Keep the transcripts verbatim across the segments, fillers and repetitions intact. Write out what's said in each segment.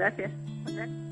Gracias. Gracias.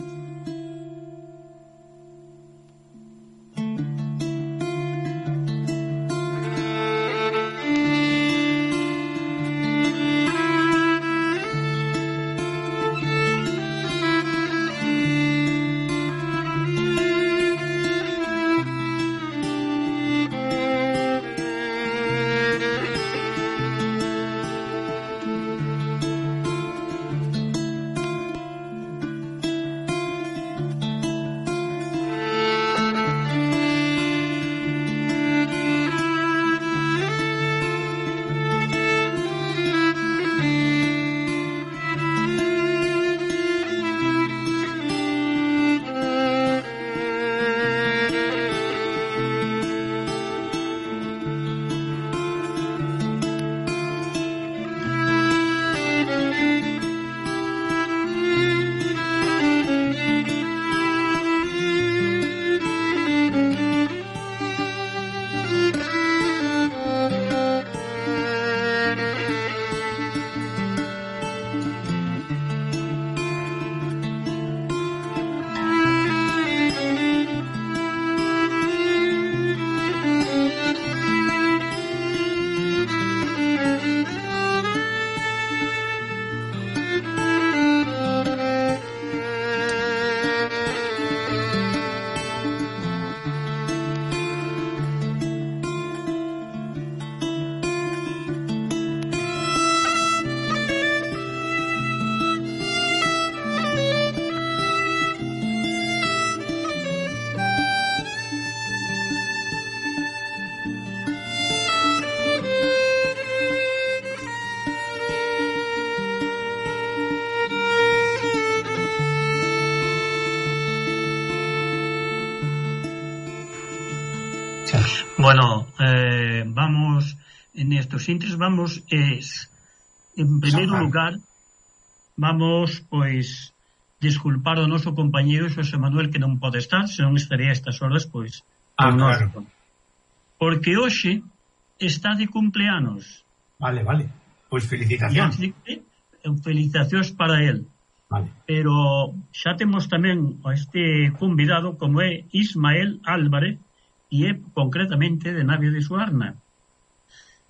Bueno, eh, vamos, en estos intres vamos, es, en primeiro lugar, vamos, pois, disculpar o noso compañeiro Xosé Manuel que non pode estar, senón estaría a estas horas, pois, ah, claro. Porque hoxe está de cumpleanos. Vale, vale, pois felicitacións. Felicitacións para él. Vale. Pero xa temos tamén a este convidado como é Ismael Álvarez, e é concretamente de Navia de Suarna,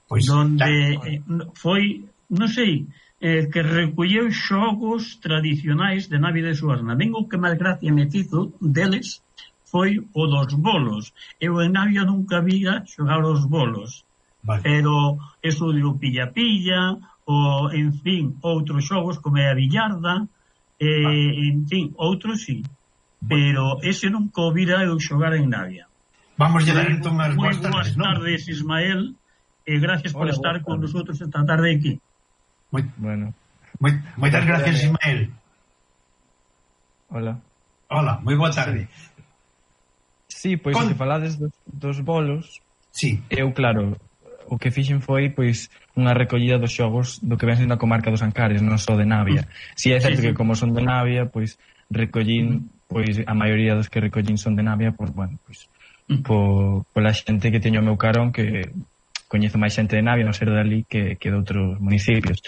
pois, donde eh, foi, non sei, eh, que recolleu xogos tradicionais de Navia de Suarna. Ben, o que máis gracia me fizo deles foi o dos bolos. Eu en Navia nunca vira xogar os bolos, vale. Pero eso de o pilla-pilla, o, en fin, outros xogos como é a billarda, eh, vale. En fin, outros sí, pero ese nunca o vira eu xogar en Navia. Vamos a dar entón as boas tardes, ¿no? tardes, Ismael, e eh, gracias Hola, por estar con nosotros esta tarde aquí. Muy, bueno. Muy, moitas gracias, Ismael. Hola. Hola, moi boa tarde. Sí, pois, con... se falades dos, dos bolos, sí. Eu, claro, o que fixen foi, pois, unha recollida dos xogos do que ven sendo a comarca dos Ancares, non só de Navia. Si é certo sí, sí. que como son de Navia, pois, recollín, pois, a maioría dos que recollín son de Navia, por, bueno, pois, por, pola xente que teño o meu carón, que coñezo máis xente de Navia, non ser dali que, que de outros municipios.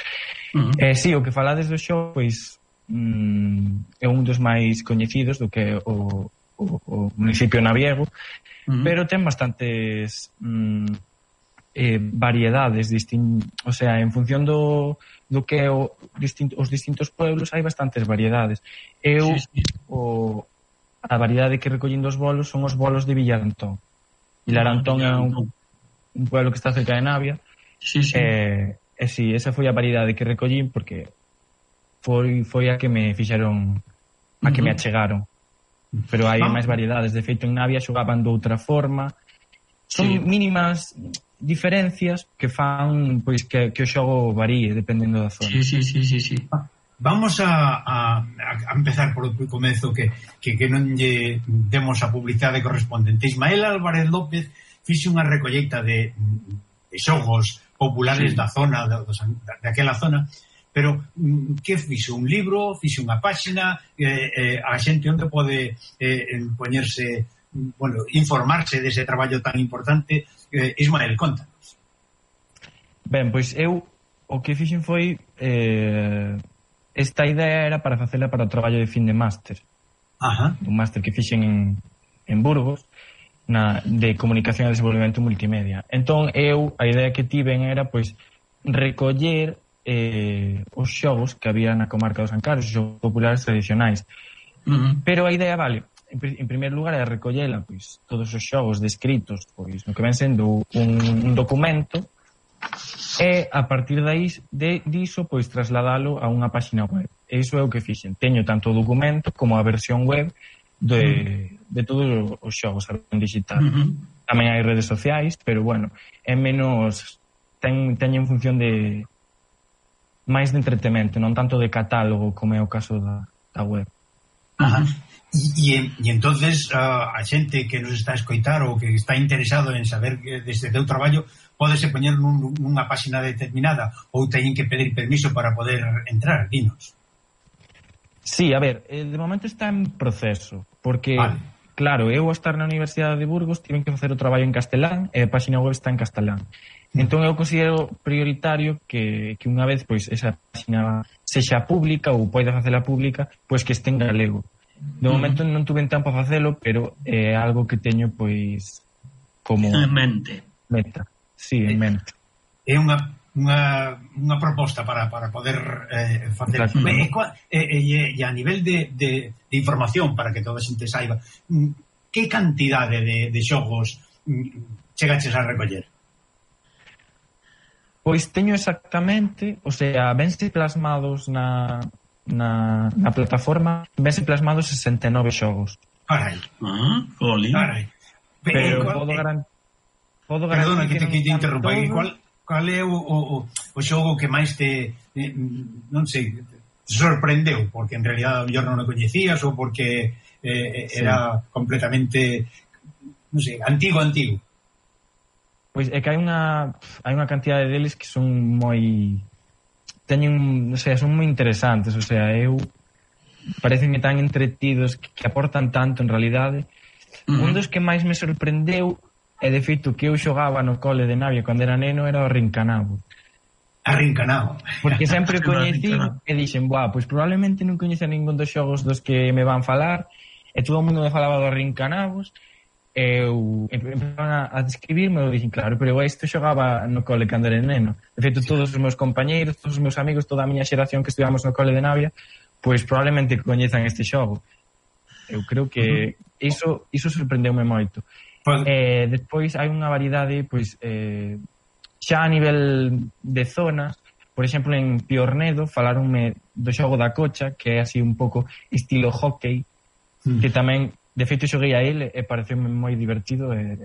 Uh -huh. Eh, si, o que falades do xogo, pois mm, é un dos máis coñecidos do que o, o, o municipio naviego, uh -huh. pero ten bastantes mm, eh, variedades distin, o sea, en función do, do que o, distinto, os distintos pueblos hai bastantes variedades. Eu sí, sí. o a variedade que recollín dos bolos son os bolos de Villarantón. Villarantón é un, un pueblo que está cerca de Navia. Sí, sí. E, e si, esa foi a variedade que recollín porque foi foi a que me fixeron, a que uh -huh. me achegaron. Pero hai ah. máis variedades. De feito, en Navia xogaban de outra forma. Son sí. mínimas diferencias que fan pois que, que o xogo varíe dependendo da zona. Sí, sí, sí, sí, sí. Ah. Vamos a, a, a empezar por o comezo que, que, que non lle demos a publicidade correspondente. Ismael Álvarez López fixe unha recolleita de, de xogos populares sí. da zona, de, de aquela zona, pero que fixo? Un libro, fixe unha páxina, eh, eh, a xente onde pode eh, poñerse, bueno, informarse dese traballo tan importante. eh, Ismael, contanos. Ben, pois eu o que fixen foi eh, esta idea era para facela para o traballo de fin de máster. Ajá. Un máster que fixen en, en Burgos, na, de comunicación e desenvolvemento multimedia. Entón, eu, a idea que tiven era, pois, recoller eh, os xogos que había na comarca dos Ancares, os xogos populares tradicionais. Uh-huh. Pero a idea, vale, en, en primeiro lugar é recollela, pois, todos os xogos descritos, pois, no que ven sendo un, un documento, e a partir de, de diso, pois, trasladalo a unha páxina web. E iso é o que fixen. Teño tanto o documento como a versión web de, de todos os xogos en digital. Uh-huh. Tamén hai redes sociais, pero, bueno, é menos... Ten, teño en función de máis de entretemento, non tanto de catálogo como é o caso da, da web. Ajá. E, e entonces uh, a xente que nos está a escoitar ou que está interesado en saber deste teu traballo pódese poñer nun, nunha páxina determinada ou teñen que pedir permiso para poder entrar, dinos. Sí, a ver, de momento está en proceso, porque, vale. Claro, eu ao estar na Universidade de Burgos tiven que facer o traballo en castelán e a páxina web está en castelán. Entón eu considero prioritario que, que unha vez pois esa página sexa pública ou poida facela pública, pois que este en galego. De momento non tuve tempo a facelo, pero é algo que teño pois como en mente. Meta. Sí, en mente. É unha unha unha proposta para para poder eh, facer. E, e, e a nivel de, de, de información para que toda a xente saiba, que cantidade de, de xogos chegaches a recoller? Pois teño exactamente, o sea, vense plasmados na, na, na plataforma, vense plasmados sesenta e nove xogos. Carai. Ah, jolín. Carai. Pero cual, podo garantir... Podo Perdona que, que, que te interrompa. Cual, cual é o, o, o xogo que máis te, eh, non sei, te sorprendeu? Porque en realidad yo non o coñecías ou porque eh, era sí. completamente, non sei, antigo, antigo. Pois é que hai unha hai unha cantidade deles que son moi teñen, o sea, son moi interesantes, o sea, eu parecenme tan entretidos que, que aportan tanto en realidade. Uh-huh. Un dos que máis me sorprendeu e de feito que eu xogaba no cole de Navia cando era neno era o Arrincanabo. Arrincanabo. Porque sempre o coñecí e dixen, buah, pois probablemente non coñece ningún dos xogos dos que me van falar e todo o mundo me falaba do Arrincanabos. Eu empezaron a describirme e dixen, claro, pero eu isto xogaba no cole cando era neno. De feito, todos os meus compañeiros, todos os meus amigos, toda a miña xeración que estudamos no cole de Navia, pois probablemente coñezan este xogo. Eu creo que iso, iso sorprendeume moito. Pues... Eh, despois hai unha variedade, pois, eh, xa a nivel de zonas, por exemplo, en Piornedo falaronme do xogo da cocha, que é así un pouco estilo hockey, mm. que tamén de feito xoguei a ele e pareceume moi divertido e,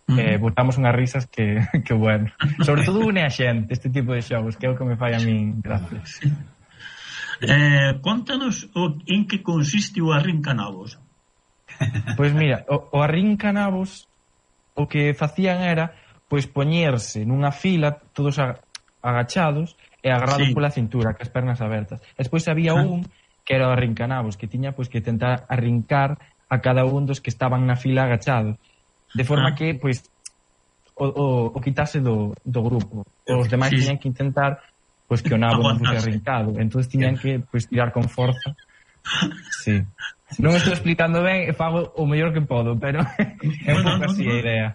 mm. e botamos unhas risas que, que bueno. Sobre todo une a xente este tipo de xogos, que é o que me fai a min gracias. Sí. Eh, contanos o, en que consiste o Arrincanabos. Pois mira, o, o Arrincanabos o que facían era pois poñerse nunha fila todos agachados e agarrados sí. pola cintura, cas pernas abertas. Despois había ah. un que era o Arrincanabos, que tiña pois que tentar arrincar a cada un dos que estaban na fila agachados, de forma ah. que pois o, o, o quitase do, do grupo. Os demais sí. tiñan que intentar pois que o nabo non fose arrincado, entón tiñan que pois tirar con forza. Sí. Non estou explicando ben, fago o mellor que podo, pero é un pouco así a idea.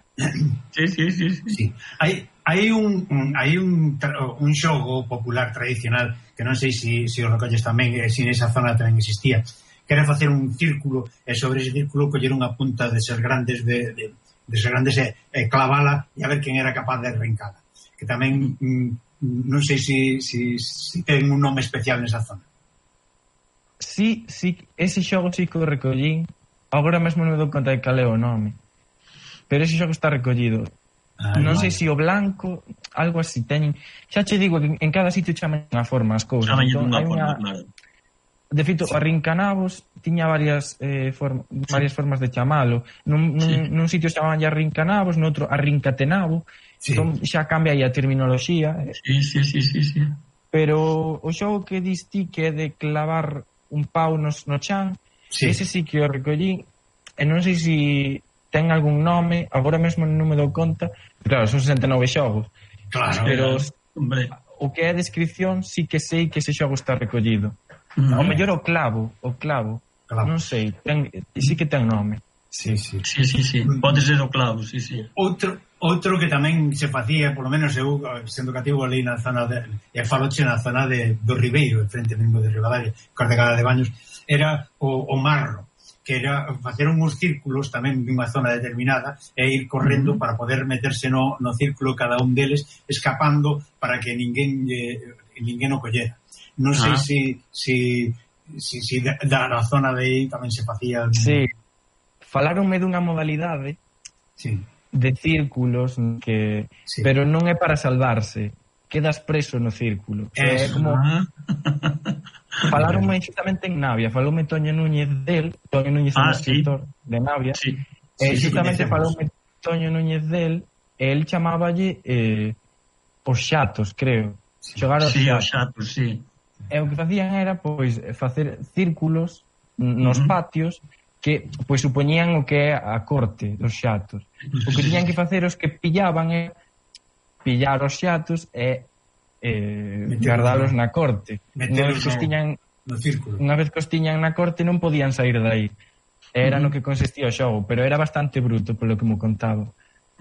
Sí, sí, sí, sí. sí. Hai hai un hai un un xogo popular tradicional que non sei se si, si o recolles tamén, e se nesa zona tamén existía, que era facer un círculo e sobre ese círculo coller unha punta de ser grandes de, de, de ser grandes e, e clavala e a ver quen era capaz de arrancala. Que tamén mm, non sei se si, si, si ten un nome especial nesa zona. Sí, sí, ese xogo sí que o recollín. Agora mesmo non me dou conta de cal é o nome. Pero ese xogo está recollido. Ah, non sei se o blanco, algo así teñen. Xa che digo que en cada sitio chaman unha forma as cousas. Chaman entón, unha forma, una... claro. De feito, sí. Arrincanabos tiña varias eh, form... sí. varias formas de chamalo. Nun, nun, sí. nun sitio chamaban ya Arrincanabos, noutro Arrincatenabo. Sí. Entón xa cambia aí a terminoloxía. Sí, sí, sí, sí, sí. Pero o xogo que dis ti que é de clavar un pau nos, no chan, sí. ese sí que o recollí, e non sei se ten algún nome, agora mesmo non me dou conta, claro, son sesenta e nove xogos, claro, pero hombre. O que é a descripción sí que sei que ese xogo está recollido. Ao mellor o clavo, o clavo, Clavo. non sei, ten, sí que ten nome. Sí, sí. Sí, sí, sí, pode ser o clavo, sí, sí. Outro, outro que tamén se facía, polo menos eu, sendo cativo ali na zona de, e faloche na zona de, do Ribeiro, en frente mesmo de Ribadavia, Cordegada de Baños, era o, o marro, que era facer uns círculos tamén dunha zona determinada e ir correndo uh-huh. para poder meterse no, no círculo cada un deles, escapando para que ninguén eh, ninguén o collera. Non sei uh-huh. si, si, si, si da, da zona de aí tamén se facía... Sí. Falaronme dunha modalidade sí. de círculos que sí. pero non é para salvarse, quedas preso no círculo. É como falaronme justamente en Navia, faloume Toño Núñez del, Toño Núñez é ah, un escritor sí. de Navia. Sí. E sí, justamente sí, faloume Toño Núñez del, e el chamáballe eh, os xatos, creo. Sí, xogar os sí, xatos. xatos, sí. E o que facían era pois facer círculos nos uh-huh. patios que pois supoñían o que é a corte dos xatos. O que tiñan que facer os que pillaban é pillar os xatos e eh, guardalos na corte. Unha vez que os tiñan no círculo. Unha vez que os tiñan na corte non podían sair de aí. Era uh-huh. no que consistía o xogo, pero era bastante bruto polo que me contaba.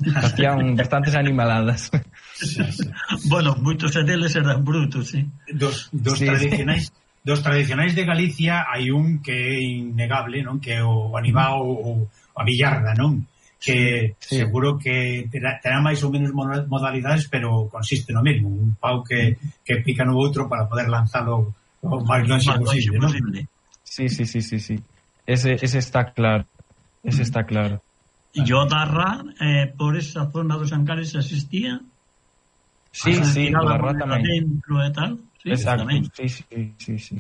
Facían bastantes animaladas. Sí, sí. Bueno, moitos deles eran brutos, sí. Dos, dos sí. tradicionais dos tradicionais de Galicia hai un que é innegable, non? Que é o Anibao ou a Villarda, non? Que sí. seguro que terá, terá máis ou menos modalidades, pero consiste no mesmo, un pau que, que pica no outro para poder lanzalo o máis longe posible, non? Sí, sí, sí, sí, sí. Ese, ese está claro. Ese está claro. E o Darra, eh, por esa zona dos Ancares existía? Sí, sí, o Darra tamén. Dentro e tal. Sí, exacto, sí, sí, sí, sí.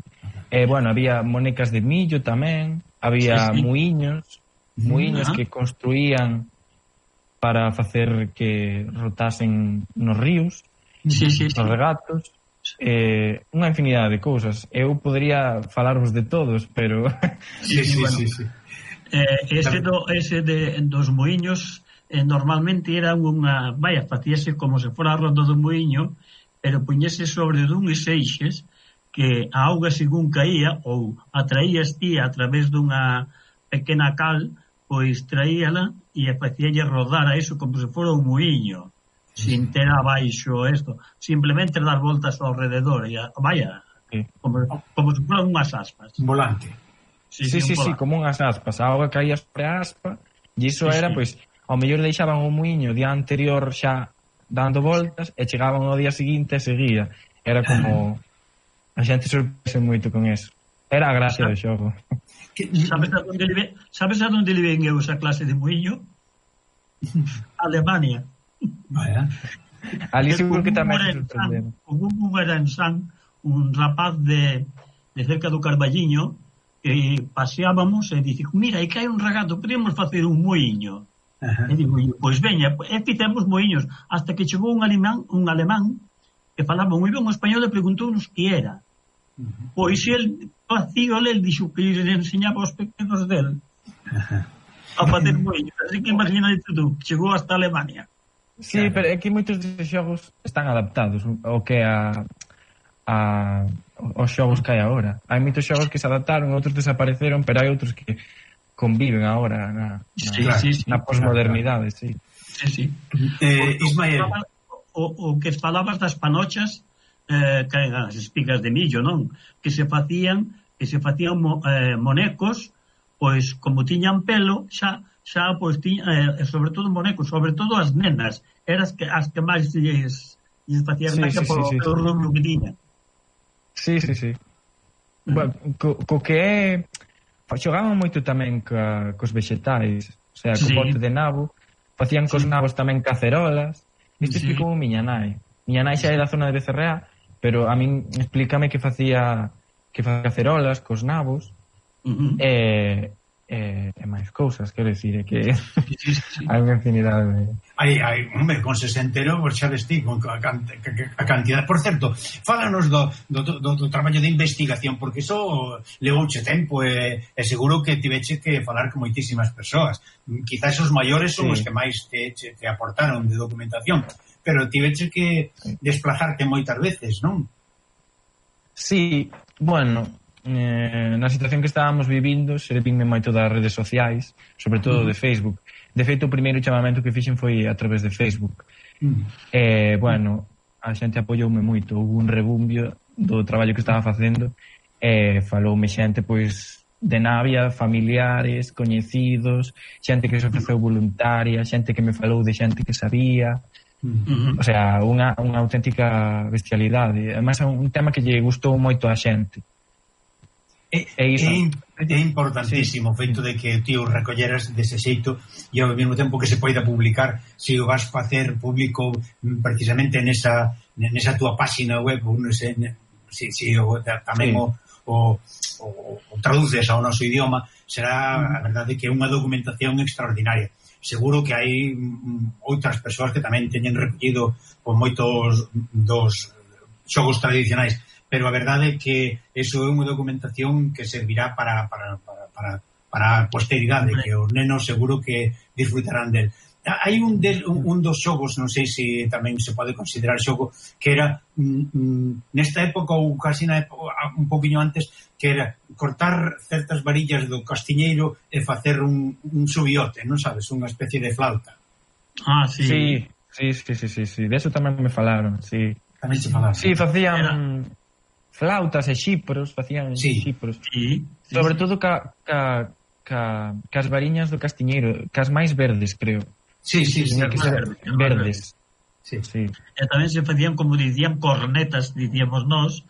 Eh, bueno, había monecas de millo tamén, había sí, sí. muiños, muiños uh-huh. que construían para facer que rotasen nos ríos, sí, sí, nos sí. regatos, eh, unha infinidade de cousas. Eu podría falarvos de todos, pero... Sí, sí, bueno, sí, sí. Eh, ese, do, ese de, dos muiños eh, normalmente era unha... Vaya, facíase como se fora a ronda do muiño, pero puñese sobre duns eixes que a auga según caía ou atraías ti a través dunha pequena cal, pois traíala e facíalle rodar a eso como se fora un muiño, sin ter abaixo esto, simplemente dar voltas ao rededor e a, vaya, sí. como, como se fora unhas aspas. Un volante. Sí, sí, sí, sí, sí, como unhas aspas, a auga caía sobre a aspa e iso sí, era, sí. pois, ao mellor deixaban o muiño día anterior xa dando voltas e chegaban ao día seguinte e seguía. Era como... A xente sorprese moito con eso. Era a gracia do xogo. Sabes a donde le, sabes a donde le ven eu esa clase de muiño? Alemania. Vaya. Ali seguro que tamén se sorprenderon. Como un era en San, un rapaz de, de cerca do Carballiño, que paseábamos e dice, mira, aí que hai un regato, podemos facer un muiño. Uh-huh. E digo, pois veña, e fizemos moiños hasta que chegou un alemán, un alemán que falaba moi ben o español e preguntounos que era. Uh-huh. Pois el facía, el dixo que le enseñaba aos pequenos del uh-huh. a facer moiños, así que imagínate tú, chegou hasta Alemania. Sí, claro. Pero é que moitos destes xogos están adaptados o que a, a os xogos que hai agora. Hai moitos xogos que se adaptaron, outros desapareceron, pero hai outros que conviven agora na, na, sí, sí, sí, na posmodernidade, sí. Sí, sí. Eh, Ismael, o, o que falabas das panochas, eh, que as espigas de millo, non? Que se facían, que se facían mo, eh, monecos, pois como tiñan pelo, xa xa pois tiña, eh, sobre todo monecos, sobre todo as nenas, eras que as que máis lles, lles facían sí, sí, por sí, o rubro que tiñan. Sí, sí, sí. Mm. Bueno, co, co que é xogaban moito tamén ca, cos vexetais, o sea, co sí. bote de nabo, facían cos sí. nabos tamén cacerolas. Isto sí. explicou miña nai. Miña nai xa é da zona de Becerrea, pero a min explícame que facía que facía cacerolas cos nabos, uh-huh. e, e, e máis cousas, quero dicir, é que sí, sí, sí. hai unha infinidade de... Hai, hai, hombre, con sesentero, por xa vestí, con a, a, a cantidad. Por certo, fálanos do, do, do, do traballo de investigación, porque iso levouche tempo e, e seguro que tiveche que falar con moitísimas persoas. Quizás os maiores son sí. os que máis te, te, te aportaron de documentación, pero tiveche que desplazarte moitas veces, non? Sí, bueno, eh, na situación que estábamos vivindo servinme moito das redes sociais, sobre todo de Facebook. De feito, o primeiro chamamento que fixen foi a través de Facebook. Mm. Eh, bueno, a xente apoioume moito, houve un rebumbio do traballo que estaba facendo e faloume xente, pois, de Navia, familiares, coñecidos, xente que se ofreceu voluntaria, xente que me falou de xente que sabía. Uh-huh. O sea, unha, unha auténtica bestialidade. Además é un tema que lle gustou moito a xente. É, é, é importantísimo o feito de que ti o recolleras dese xeito e ao mesmo tempo que se poida publicar, se o vas facer público precisamente nesa, nesa túa página web, nese, si, si o, tamén sí. o, o, o, o traduces ao noso idioma, será a verdade que é unha documentación extraordinaria. Seguro que hai outras persoas que tamén teñen recollido con moitos dos xogos tradicionais, pero a verdade é que eso é unha documentación que servirá para para, para, para, para a posteridade, que os nenos seguro que disfrutarán del. Hai un, del, un, un dos xogos, non sei se tamén se pode considerar xogo, que era mm, nesta época ou casi na época, un poquinho antes, que era cortar certas varillas do castiñeiro e facer un, un subiote, non sabes? Unha especie de flauta. Ah, sí. Sí, sí, sí, sí, sí, sí. De eso tamén me falaron, sí. Tamén se falaron. Sí, facían era... flautas e xipros, facían sí. xipros. Sí, sí, sobre sí. todo ca, ca, ca, cas variñas do castiñeiro, cas máis verdes, creo. Sí, sí, sí, que ser verdes. Sí, sí. E tamén se facían, como dicían, cornetas, dicíamos nós,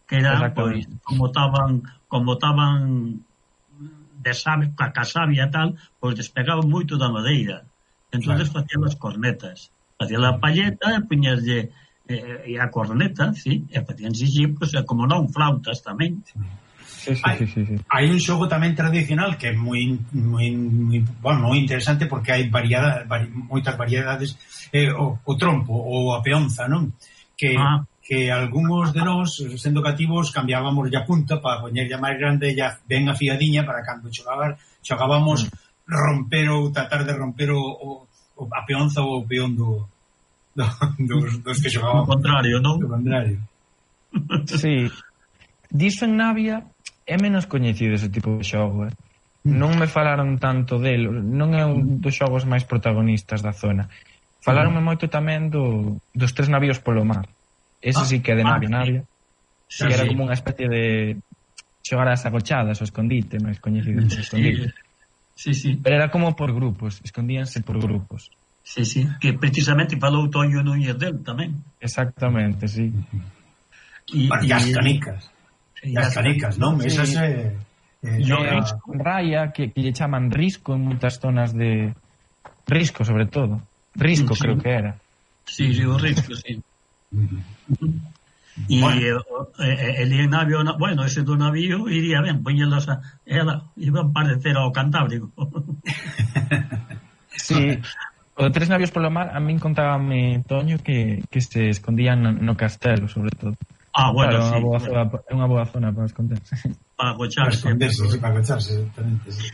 que eran, pois, como estaban como estaban de sabia, ca sabia e tal, pois despegaban moito da madeira. Entonces claro. Facían as cornetas. Facían a palleta, puñaslle eh, e a corneta, sí, e facían xipos, e como non, flautas tamén. Sí. Sí, sí, hai, sí, sí, sí. hai un xogo tamén tradicional que é moi moi, moi, bueno, moi interesante porque hai variedade, vari, moitas variedades, eh, o, o trompo ou a peonza, non? Que, ah. que algúns de nós, sendo cativos, cambiábamos a punta para poñerlla máis grande e ben afiadiña para cando xogabar, xogábamos mm. romper ou tratar de romper o, o, o a peonza ou o peón do, do, dos, dos que xogábamos. O contrario, non? O contrario. Sí. Diso en Navia é menos coñecido ese tipo de xogo, eh? Non me falaron tanto del, non é un dos xogos máis protagonistas da zona. Falaronme moito tamén do, dos tres navíos polo mar. Ese sí que é de Navia, Navia. Sí, que era sí. como unha especie de xogar as agochadas, o escondite, máis coñecido que escondite. Sí, sí. Pero era como por grupos, escondíanse por grupos. Sí, sí, que precisamente falou Toño Núñez del tamén. Exactamente, sí. E as canicas. E as canicas, non? Sí. Esas é... Eh, eh, con raya, que, que lle chaman risco en moitas zonas de... Risco, sobre todo. Risco, sí. Creo que era. Sí, sí, o risco, sí. E bueno. eh, el navío, bueno, ese do navío iría ben, poñelos a... Ela, iban a parecer ao Cantábrico. Sí. O de tres navíos polo mar, a min contábame Toño que, que se escondían no, no castelo, sobre todo. Ah, bueno, claro, sí. É unha, Bueno. unha boa zona para esconderse. Para agocharse. Para esconderse, sí, para agocharse, exactamente. Sí.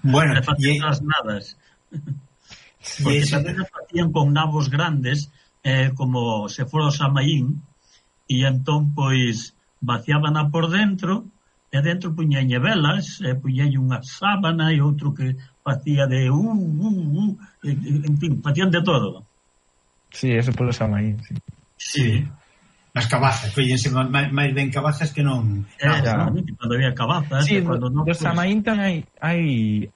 Bueno, e as nadas. Porque ese... tamén facían con nabos grandes, eh, como se fora o Samaín, e entón, pois, vaciábana por dentro, e dentro puñañe velas, e puñañe unha sábana, e outro que facía de uh, uh, uh, en fin, facían de todo. Sí, eso polo Samaín, sí. Sí. As cabazas, fíjense máis ben cabazas que non... Eh, no, no, cando había cabazas... Sí, cando do, non, do pues... Samaín tamén hai, hai,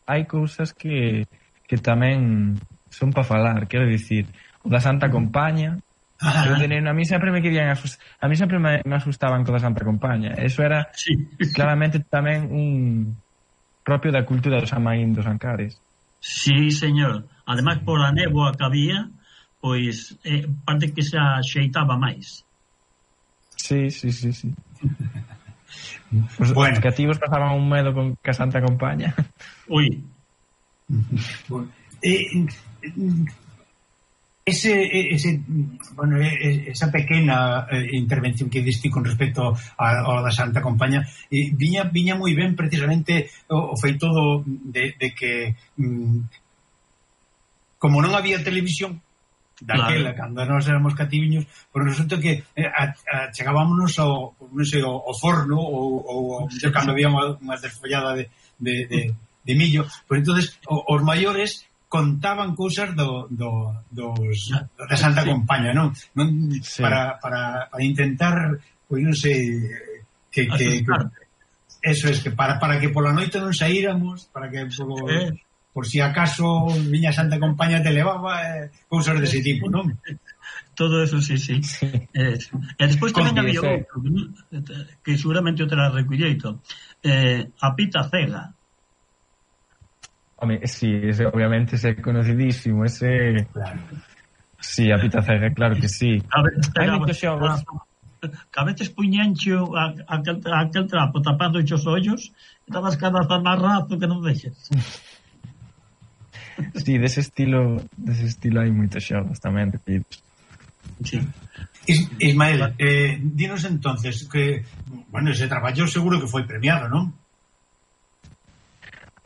hai cousas que, que tamén son para falar, quero dicir, o da Santa Compaña, ah, eu de neno, a mí sempre me querían asustar, a mí sempre me, me asustaban co da Santa Compaña, eso era sí. Claramente tamén un propio da cultura dos Samaín dos Ancares. Sí, señor, ademais por a néboa que había, pois eh, parte que se axeitaba máis. Sí, sí, sí, sí. Os, bueno. Os cativos pasaban un medo con que a Santa Compaña. Ui. Bueno, eh, ese, ese, bueno, esa pequena eh, intervención que diste con respecto a, a da Santa Compaña eh, viña, viña moi ben precisamente o, o feito do, de, de que mm, como non había televisión daquela, claro. Cando nós éramos cativiños, pero resulta que eh, a, a, chegábamos ao, non sei, ao, ao forno ou, ou, ou cando había unha, unha desfollada de, de, de, de millo, pues entonces o, os maiores contaban cousas do, do, dos, da Santa sí. Compaña, non? non sí. para, para, para intentar, pois non sei, que, que, que eso es, que para, para que pola noite non saíramos, para que por, eh. por si acaso viña Santa Compaña te levaba, eh, cousas dese tipo, non? Todo eso, sí, sí. Eh, e despois tamén había outro, que seguramente o terá recolleito, eh, a pita cega. Home, sí, ese, obviamente ese é conocidísimo, ese... Claro. Sí, a pita cega, claro que sí. A veces, hai moitos xogos... Que a veces puñancho aquel, aquel trapo tapando os ollos e estabas cada vez máis rato que non vexes. Sí, dese estilo dese estilo hai moitos xogos tamén repetidos. Sí. Is, Ismael, eh, dinos entonces que, bueno, ese traballo seguro que foi premiado, non?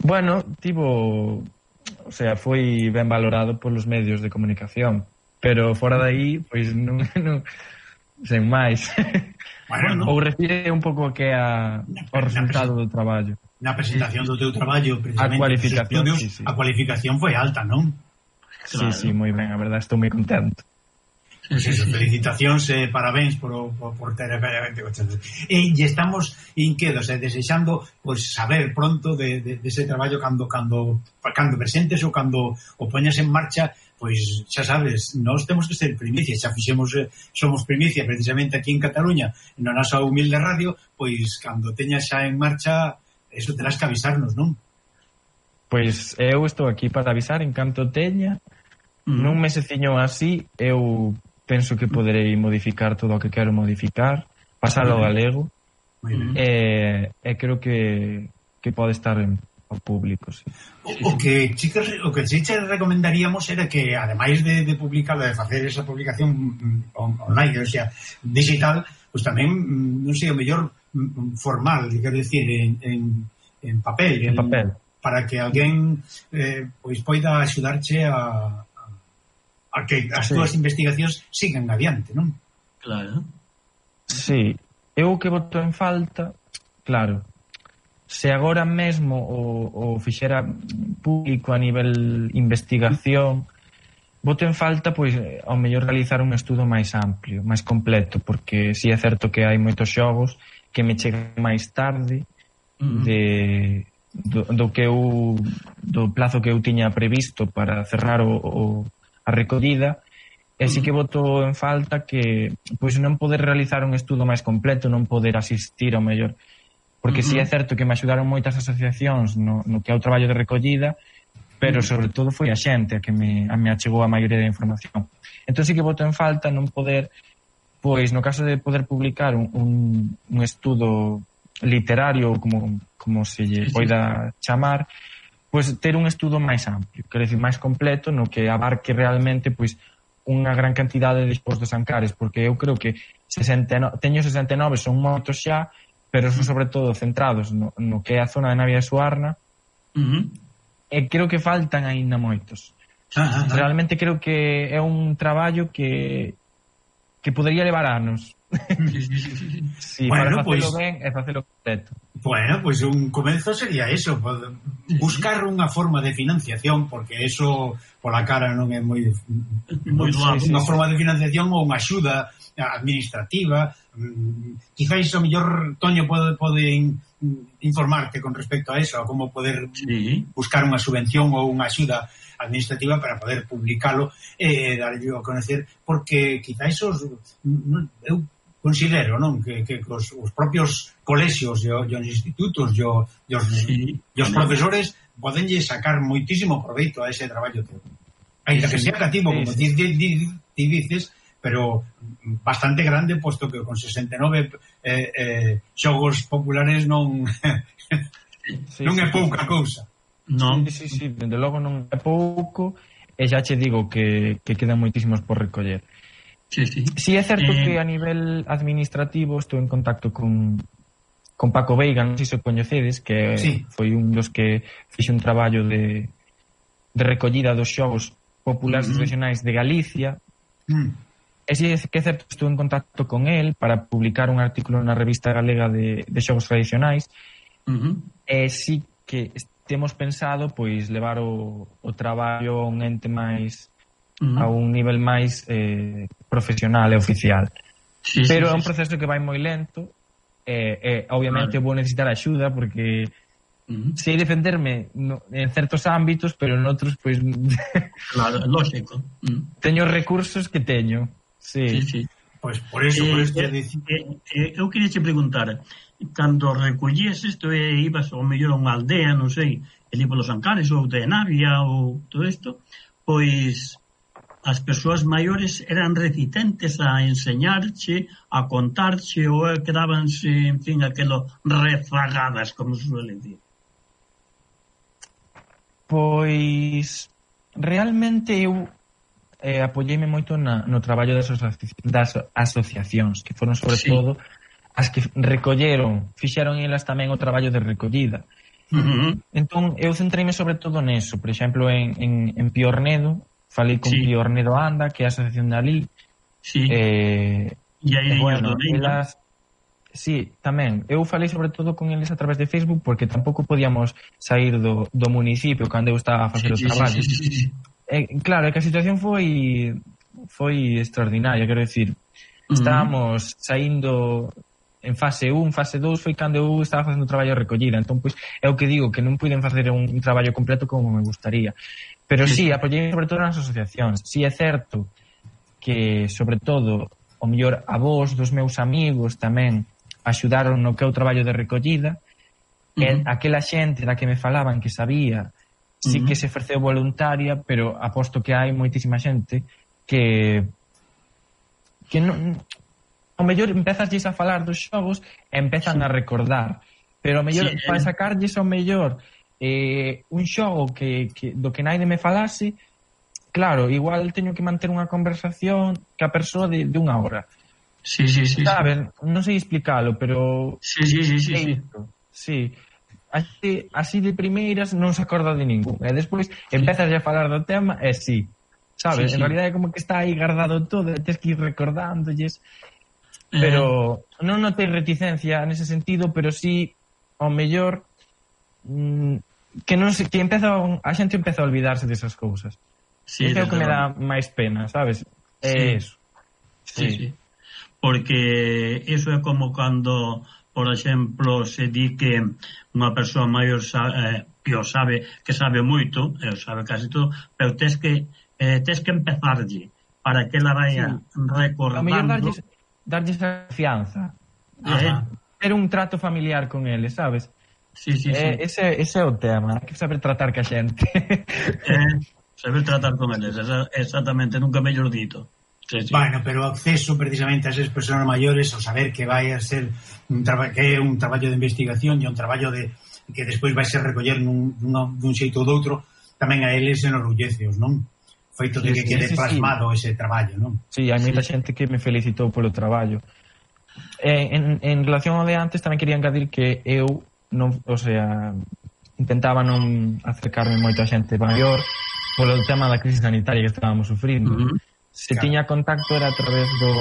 Bueno, tivo, o sea, foi ben valorado polos medios de comunicación, pero fora de aí, pois non, non sen máis. Bueno, ou refire un pouco que a o resultado do traballo. Na presentación do teu traballo, precisamente, a cualificación, estudios, sí, sí. A cualificación foi alta, non? Sí, claro. Sí, moi ben, a verdade, estou moi contento. Pues eso, felicitacións e eh, parabéns por, por, por ter e, e estamos inquedos e eh, desexando pues, saber pronto de, de, de ese traballo cando, cando, cando presentes ou cando o poñas en marcha. Pois xa sabes, nós temos que ser primicia, xa fixemos, somos primicia precisamente aquí en Cataluña, na nosa humilde radio, pois cando teñas xa en marcha, eso terás que avisarnos, non? Pois eu estou aquí para avisar en canto teña, mm. nun meseciño así, eu penso que poderei modificar todo o que quero modificar, pasalo ao galego, e, e creo que, que pode estar en ao público, sí. O, o que chicos, o que sí che recomendaríamos era que ademais de, de publicar, de facer esa publicación online, o sea, digital, pues tamén, non sei, o mellor formal, quero dicir, en, en, en papel, en, en papel, para que alguén eh, pois poida axudarche a, a, a que as sí. túas investigacións sigan adiante, non? Claro. Sí, eu que boto en falta, claro, se agora mesmo o, o fixera público a nivel investigación, boto en falta, pois, ao mellor realizar un estudo máis amplio, máis completo, porque si é certo que hai moitos xogos que me chegan máis tarde de, do, do que eu do plazo que eu tiña previsto para cerrar o, o, a recollida, e si que boto en falta que pois non poder realizar un estudo máis completo, non poder asistir ao mellor, porque uh-huh. si é certo que me axudaron moitas asociacións no, no que é o traballo de recollida, pero sobre todo foi a xente a que me, a me achegou a maioría da información. Entón si que boto en falta non poder, pois no caso de poder publicar un, un, un estudo literario, como, como se lle poida chamar, pois ter un estudo máis amplio, quero dicir, máis completo, no que abarque realmente pois unha gran cantidade de expos dos Ancares, porque eu creo que sesenta e nove, teño sesenta e nove, son moitos xa, pero son sobre todo centrados no, no que é a zona de Navia de Suarna, uh-huh. e creo que faltan aínda moitos. Uh-huh. Realmente creo que é un traballo que que podería levar anos. Sí, bueno, para facelo pues, ben e facelo completo. Bueno, pois pues un comezo sería eso, buscar unha forma de financiación, porque eso pola cara non é moi, moi unha forma de financiación ou unha axuda administrativa. Quizáis o mellor Toño pode, pode informarte con respecto a eso, a como poder sí. buscar unha subvención ou unha axuda administrativa para poder publicalo e eh, darlle a conocer, porque quizáis os eu considero, non, que, que os, os propios colexios e os institutos e os, sí. os profesores podenlle sacar moitísimo proveito a ese traballo teu. Ainda sí, que sea cativo, sí, como ti sí. ti dices, pero bastante grande, posto que con sesenta e nove eh, eh, xogos populares non sí, non é sí, pouca sí. cousa. Non. Sí, sí, sí, dende logo non é pouco, e xa che digo que, que quedan moitísimos por recoller. Sí, sí. Sí, é certo eh... que a nivel administrativo estou en contacto con con Paco Veiga, non sei se o coñecedes, que sí. foi un dos que fixe un traballo de, de recollida dos xogos populares uh -huh. regionais de Galicia. Mm. E si que é certo, estuve en contacto con el para publicar un artículo na revista galega de, de xogos tradicionais. Uh -huh. E si que temos pensado pois levar o, o traballo a un ente máis uh -huh. a un nivel máis eh, profesional e oficial. Sí, pero sí, é un proceso sí. que vai moi lento e, e obviamente vale. vou necesitar axuda porque uh -huh. sei defenderme no, en certos ámbitos, pero en outros pois claro, lógico. Uh -huh. Teño recursos que teño. Sí, sí, sí. Pois pues por eso, eh, por eso eh, eh, eh, eu queria che preguntar, cando recollías isto e ibas ao mellor a unha aldea, non sei, ali polos Ancares ou de Navia ou todo isto, pois as persoas maiores eran reticentes a enseñarche, a contarche ou quedabanse, en fin, aquelo rezagadas, como se suele decir. Pois realmente eu eh, apoyeime moito na, no traballo das, asoci das asociacións, que foron sobre sí. todo as que recolleron, fixeron elas tamén o traballo de recollida. Uh -huh. Entón, eu centreime sobre todo neso, por exemplo, en, en, en Piornedo, falei con sí. Piornedo Anda, que é a asociación de ali. Sí. Eh, e aí, e bueno, elas... Sí, tamén. Eu falei sobre todo con eles a través de Facebook porque tampouco podíamos sair do, do municipio cando eu estaba a facer sí, o traballo. Sí, sí, sí, sí. Eh, claro, é que a situación foi foi extraordinaria, quero decir, estábamos uh -huh. saindo en fase un, fase dous foi cando eu estaba facendo o traballo de recollida, entón pois é o que digo, que non puiden facer un, un traballo completo como me gustaría, pero sí, sí apoyei sobre todo nas asociacións. Sí é certo que sobre todo o mellor a vos dos meus amigos tamén axudaron no que é o traballo de recollida. Uh -huh. E aquela xente da que me falaban que sabía sí uh -huh. que se ofreceu voluntaria, pero aposto que hai moitísima xente que que non, ao mellor empezasles a falar dos xogos e empezan sí. a recordar, pero ao mellor sí, para sacarlles ao mellor eh, un xogo que, que do que naide me falase, claro, igual teño que manter unha conversación que a persoa de, de unha hora. Sí, sí, sí. Saben, sí. non sei explicalo, pero sí, sí, sí, sí, sí. sí. Así, así de primeiras non se acorda de ningún e despois sí. empezas a falar do tema e sí, sabes, sí, sí. en realidad é como que está aí guardado todo e tens que ir recordándolles eh. pero non notei reticencia nese sentido, pero sí ao mellor mmm, que non se, que empeza a xente empeza a olvidarse desas cousas. Sí, é o que me dá máis pena, sabes? É sí. eso sí. Sí, sí, porque eso é como cando por exemplo, se di que unha persoa maior sabe, eh, o sabe, que sabe moito, e sabe casi todo, pero tes que eh, tes que empezarlle para que ela vaya sí. recordando. A mellor darlles, darlles a confianza. Eh, ter un trato familiar con eles, sabes? Sí, sí, eh, sí. Ese, ese é o tema, hai que saber tratar ca xente. eh, saber tratar con eles, exactamente, nunca mellor dito. Sí, sí. Bueno, pero o acceso precisamente a esas persoas maiores, o saber que vai a ser un que é un traballo de investigación e un traballo de que despois vai ser recoller nun, dun xeito ou doutro, tamén a eles enorgulleceos, non? Feito de que sí, quede sí, plasmado sí. ese traballo, non? Sí, hai moita sí. xente que me felicitou polo traballo. Eh, en, en relación ao de antes tamén quería engadir que eu non, o sea, intentaba non acercarme moito a xente maior polo tema da crise sanitaria que estábamos sufrindo. Uh -huh. Se claro. tiña contacto era a través do,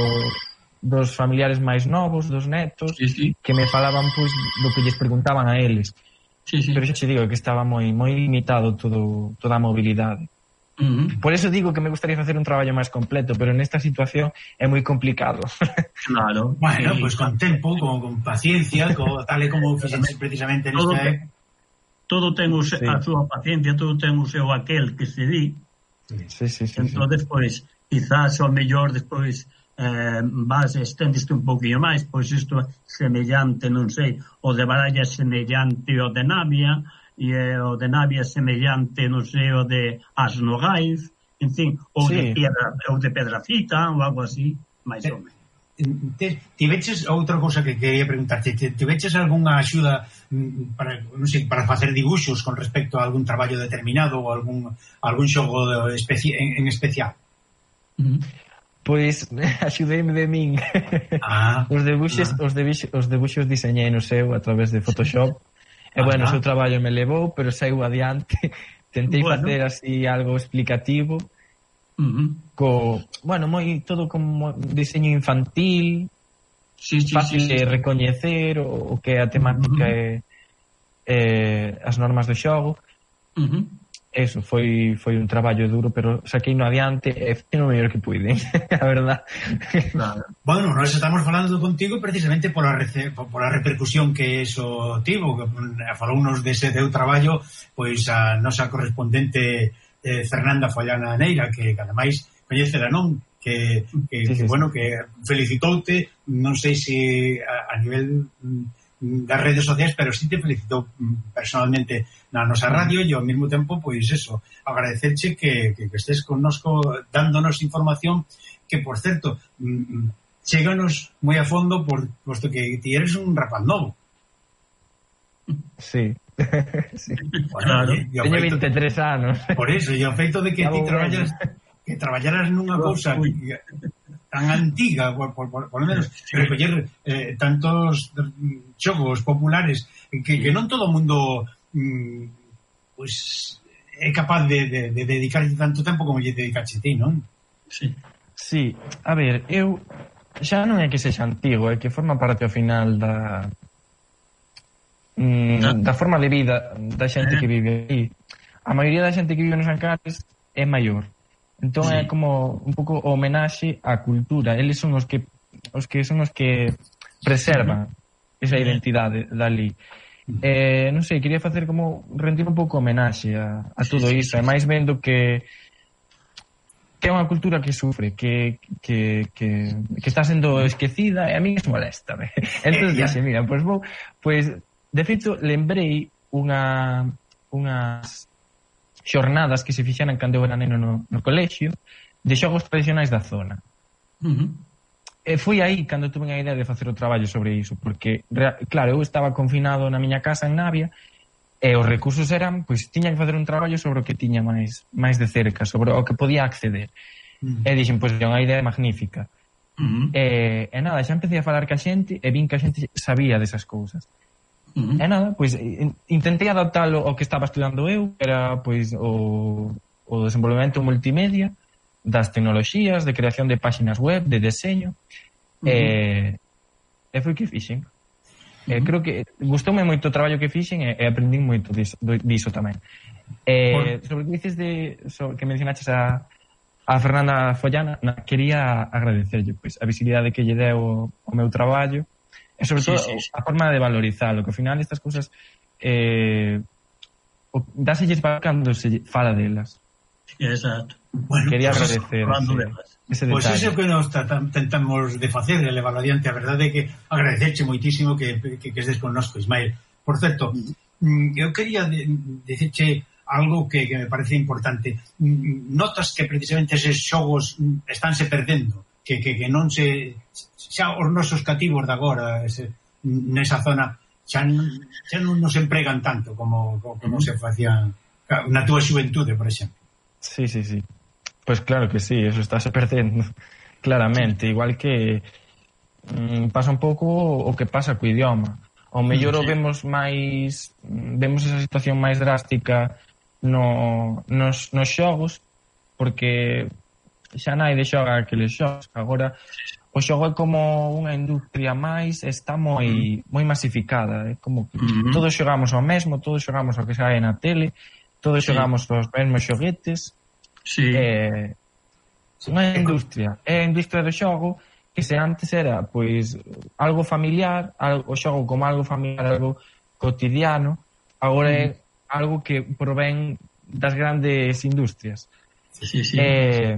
dos familiares máis novos, dos netos, sí, sí. que me falaban pois do que lles preguntaban a eles. Sí, sí. Pero xa te digo que estaba moi moi limitado todo, toda a mobilidade. Uh -huh. Por eso digo que me gustaría facer un traballo máis completo, pero nesta situación é moi complicado. Claro. Bueno, sí. pues con tempo, con, con paciencia, con, tal e como fixense precisamente nesta... Todo, todo ten o se, sí. a súa paciencia, todo ten o seu aquel que se di. Sí, sí, sí. Entón, sí. despois... quizás ao mellor despois eh, vas estendeste un pouquinho máis, pois isto é semellante, non sei, o de Baralla semellante o de Navia, e o de Navia semellante, non sei, o de Asnogaiz, en fin, ou sí. de Piedra, ou de Pedrafita, ou algo así, máis ou menos. Tiveches outra cousa que quería preguntarte, tiveches algunha axuda para, non sei, para facer dibuxos con respecto a algún traballo determinado ou algún, algún xogo especi en, en especial? Pois axudeime de min. Ah, os debuxos, ah. os debuxos, os debuxos diseñei no seu a través de Photoshop. E bueno, o seu traballo me levou, pero saiu adiante. Tentei bueno. facer así algo explicativo Uh-huh. Co, bueno, moi todo como diseño infantil, sí, sí, fácil sí, sí, de sí. recoñecer o, o que a temática Uh-huh. é eh, as normas do xogo. Uh-huh. Eso, foi foi un traballo duro, pero saquei no adiante e foi o mellor que puiden, a verdad. Claro. Bueno, nós estamos falando contigo precisamente pola, rece, pola repercusión que eso tivo, que falounos dese teu traballo, pois a nosa correspondente eh, Fernanda Follana Neira, que ademais coñecera, non? Que, que, sí, sí, que bueno, sí. que felicitoute, non sei se a, a nivel das redes sociais, pero sí te felicitou personalmente na nosa radio, e ao mesmo tempo, pois eso, agradecerche que, que, que estés connosco dándonos información que, por certo, cheganos moi a fondo, por, posto que ti eres un rapaz novo. Sí. Sí. Bueno, Claro. e, e Teño feito, veintitrés anos. por eso, e o feito de que ti traballas, que traballaras nunha cousa que, tan antiga, por, por, por, por lo menos recoller eh, tantos xogos populares que, que non todo o mundo mm, pues, é capaz de, de, de dedicarlle tanto tempo como lle dedicaxe ti, non? Sí. Sí, a ver, eu xa non é que sexa antigo, é que forma parte ao final da mm, da forma de vida da xente que vive aí. A maioría da xente que vive nos Ancares é maior. Entón sí. É como un pouco o homenaxe á cultura. Eles son os que os que son os que preservan esa identidade dali. Eh, non sei, quería facer como rendir un pouco homenaxe a, a todo sí, iso, sí, sí, e máis vendo que que é unha cultura que sufre, que, que, que, que está sendo esquecida e a mí es molesta. Entón, eh, dixe, mira, pois vou, pois, de feito, lembrei unha unhas xornadas que se fixeran cando eu era neno no, no colexio de xogos tradicionais da zona. Uh-huh. E foi aí cando tuve a idea de facer o traballo sobre iso, porque, claro, eu estaba confinado na miña casa en Navia e os recursos eran, pois, tiña que facer un traballo sobre o que tiña máis máis de cerca, sobre o que podía acceder. Uh-huh. E dixen, pois, é unha idea magnífica. Uh-huh. E, e nada, xa empecé a falar ca xente e vin que a xente sabía desas cousas. Uh-huh. E nada, pois intentei adaptalo ao que estaba estudando eu, que era pois o, o desenvolvemento multimedia das tecnoloxías, de creación de páxinas web, de deseño. Uh-huh. e, e foi que fixen. Uh-huh. E creo que gustoume moito o traballo que fixen e, e aprendín moito diso, diso tamén. E, sobre o que dices de, sobre, que mencionaches a, a Fernanda Follana, na, quería agradecerlle pois, a visibilidade que lle deu o meu traballo. E sobre todo sí, sí, sí. a forma de valorizarlo, que ao final estas cousas eh, dáselles para cando se fala delas. Exacto. Bueno, quería pues agradecer ese, ese Pois pues iso que nos tentamos de facer, de levar adiante, a verdade é que agradecerche moitísimo que, que, que estés connosco, Ismael. Por certo, eu quería de, decirche algo que, que me parece importante. Notas que precisamente eses xogos estánse perdendo, que, que, que non se xa os nosos cativos de agora ese, nesa zona xa, xa non nos empregan tanto como, como, como se facían na túa xuventude, por exemplo. Sí, sí, sí. Pues claro que sí, eso estáse perdendo claramente, igual que mm, pasa un pouco o que pasa co idioma. Ao mellor sí. o vemos máis vemos esa situación máis drástica no, nos, nos xogos, porque xa naide xoga aqueles xogos. Agora o xogo é como unha industria máis, está moi moi masificada, é como que uh-huh. todos xogamos ao mesmo, todos xogamos ao que sae na tele, todos sí. xogamos os mesmos xoguetes. Sí. É unha industria, é a industria do xogo que se antes era pois algo familiar, algo, o xogo como algo familiar, algo cotidiano, agora uh-huh. é algo que provén das grandes industrias. Sí, sí. É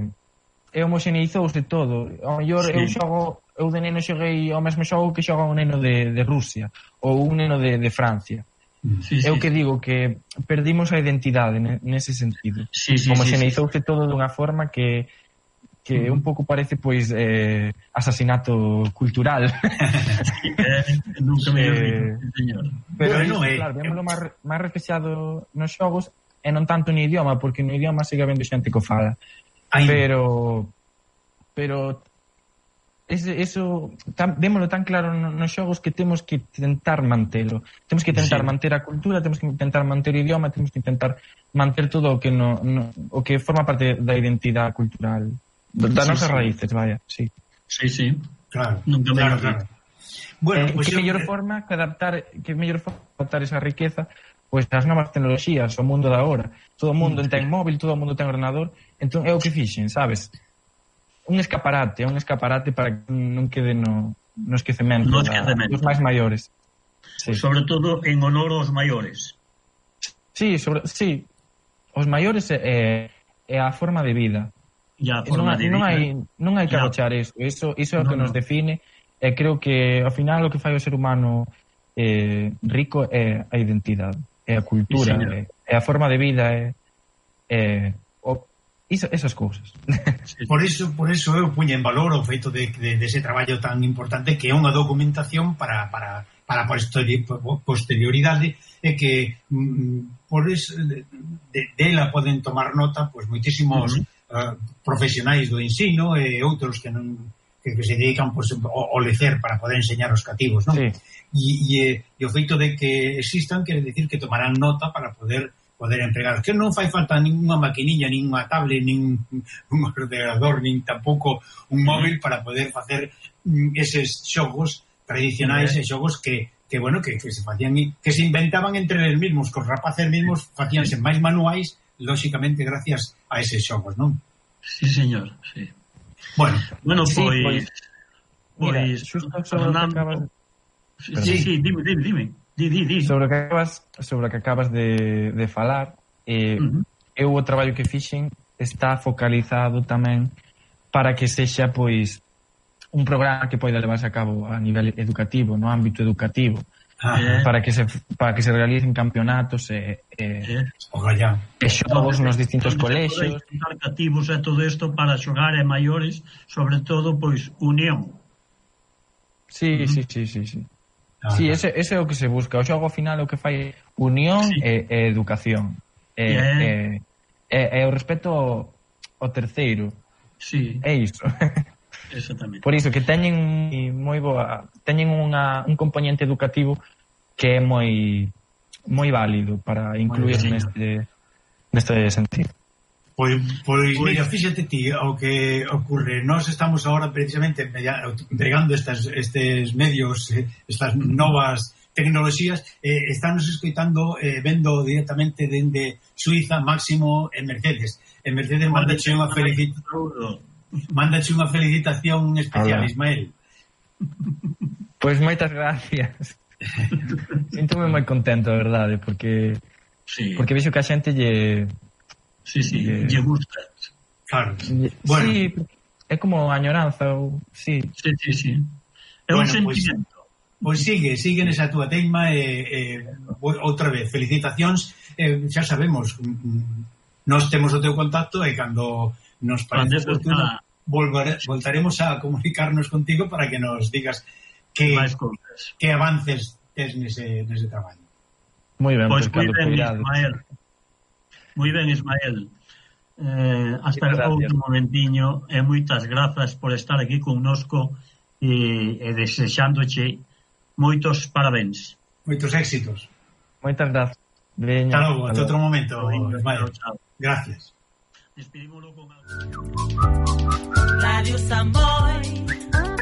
e homoxeneizouse todo. Ao mellor sí. eu xogo, eu de neno xoguei ao mesmo xogo que xoga un neno de, de Rusia ou un neno de, de Francia. Sí, eu sí. que digo que perdimos a identidade nese sentido. Sí, sí, homoxeneizouse sí, sí. todo dunha forma que que uh-huh. un pouco parece pois eh, asasinato cultural. Sí, eh, nunca me eh, señor. Pero bueno, iso, claro, vémoslo máis, máis reflexado nos xogos e non tanto no idioma, porque no idioma sigue habendo xente que o fala. Ay. Pero pero ese, eso tan, vémolo tan claro nos xogos que temos que tentar mantelo. Temos que tentar sí. manter a cultura, temos que tentar manter o idioma, temos que tentar manter todo o que no, no o que forma parte da identidade cultural, das sí, nosas sí. raíces, vaya, sí. Sí, sí. Claro, Nunca claro, claro. Bueno, eh, pues que yo... mellor forma que adaptar, que mellor forma adaptar esa riqueza pois pues, as novas tecnoloxías, o mundo da hora. Todo o mundo sí. ten móvil, todo o mundo ten ordenador, entón é o que fixen, sabes? Un escaparate, un escaparate para que non quede no, no esquecemento, no esquecemento. dos máis maiores. Sí. Sobre todo en honor aos maiores. Sí, sobre, sí. Os maiores é, é a forma de vida. Ya, forma non, de non vida. hai, non hai que agochar eso. Eso, eso é o que no, nos define. E creo que ao final o que fai o ser humano eh, rico é a identidade, é a cultura, sí, é, é a forma de vida, é, é o, iso, esas cousas. Sí. Por iso, por iso eu puño en valor o feito de, de, de ese traballo tan importante que é unha documentación para, para, para a posterioridade e que mm, por eso de, de, de ela poden tomar nota pois moitísimos uh-huh. uh, profesionais do ensino e outros que non que, que se dedican pues, ao lecer para poder enseñar aos cativos, non? Sí. E, e, e o feito de que existan quere decir que tomarán nota para poder poder empregar. Que non fai falta ninguna maquinilla, ninguna tablet, nin un ordenador, nin tampouco un móvil para poder facer eses xogos tradicionais sí, eh? e xogos que, que bueno, que, que se facían que se inventaban entre eles mesmos, que os rapaces mesmos facíanse máis manuais, lóxicamente gracias a eses xogos, non? Sí, señor, sí. Bueno, bueno, sí, pois pues, pois pues, Fernando, acabas... sí, sí, sí, dime, dime, dime. Di, di, di. Sobre o que acabas, sobre o que acabas de, de falar, eh, uh-huh. eu o traballo que fixen está focalizado tamén para que sexa pois un programa que poida levarse a cabo a nivel educativo, no ámbito educativo. Ah, para que se para que se realicen campeonatos e eh, eh, e xogos nos distintos colexios, cativos e todo isto para xogar e maiores, sobre todo pois unión. Sí, uh-huh. sí, sí, sí, sí. Ah, sí, ese, ese é o que se busca. O xogo ao final o que fai unión sí. e, e educación. E, yeah. e, e, e o respeto ao, ao terceiro. Sí. É iso. Exactamente. Por iso que teñen moi boa, teñen unha, un componente educativo que é moi moi válido para incluir neste neste sentido. Pois, pois mira, fíxate ti o que ocurre. Nós estamos agora precisamente entregando estas, estes medios, estas novas tecnoloxías, eh, estamos escoitando, eh, vendo directamente dende Suiza, Máximo e Mercedes. E Mercedes manda unha felicitación Mándache unha felicitación especial, hola. Ismael. Pois pues moitas gracias. Sinto-me moi contento, a verdade, porque sí. porque vexo que a xente lle sí, sí, lle, lle gusta. Claro. Lle, bueno. Sí, é como añoranza ou sí. Sí, sí, sí. É bueno, un sentimento. Pois pues, pues sigue, sigue nesa túa teima e, e outra vez, felicitacións. Eh, xa sabemos, nós temos o teu contacto e cando nos parece oportuno volvare, voltaremos a comunicarnos contigo para que nos digas que, que avances tes nese, nese traballo. Moi ben, pois moi ben, Ismael. Moi ben, Ismael. Eh, hasta o outro momentiño e moitas grazas por estar aquí connosco e, e desexándoche moitos parabéns. Moitos éxitos. Moitas grazas. Hasta logo, hasta outro momento, Ismael. Gracias. Despedímoslo con Radio Samboy.